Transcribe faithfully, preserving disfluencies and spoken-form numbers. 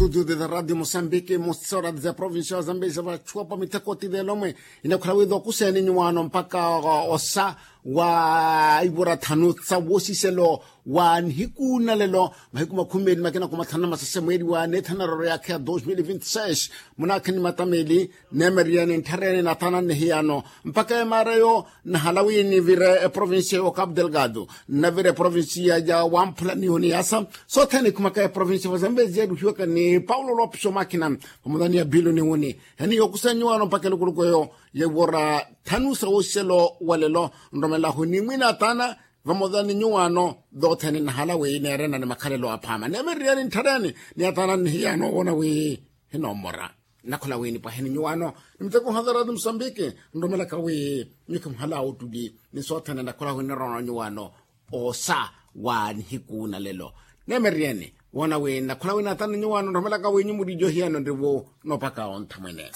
Studio de radio mosambiki mosora de provincia wa zambezi vachuwa pa miteko ti lelo mwe. Inakhala wiiza okuseeni nyuwaano mpaka osa wa ivura thanu sa woosiselo wa nihiku na lelo mahiku makhumi meeli makina kumathanu na masese mweeli wa neethanaroro yaakha ya dos mil vinti seis. Munaakheni matameli neemeriyeni ntthareni nathana nnihiyaano mpaka emaara eyo. Nnahala wi nivire eprovincia y'okapu delgado nnavire eprovincia ya wamphula niyo niyasa sothene ikhumaka eprovincia va zambezi yaruhiwaka ni paulo lopes omakina. Vamodani ya bilo niwuni heni yokusa nyuwaano mpaka elukuluku eyo yewora thanu sa woselo wa lelo nromelahu ni mwina atana vamodani nyuwaano. Dothene nnahala wi neerena ni makhalelo aphama neemeriyeni ntthareni ni atana nnihiyaano woona wi hinomora. Nnakhola wi nipwaheni nyuwaano ni miteko ohadarati musambiki nromelaka wi nyukhi muhala ottuli ni sothene nnakhola wi nirona nyuwaano osa wa nihiku na lelo. Neemeriyeni woona wi nnakhola wi natani nyuwaano nromelaka wi nyumuri johiyano nriwo nopaka ontha mwene.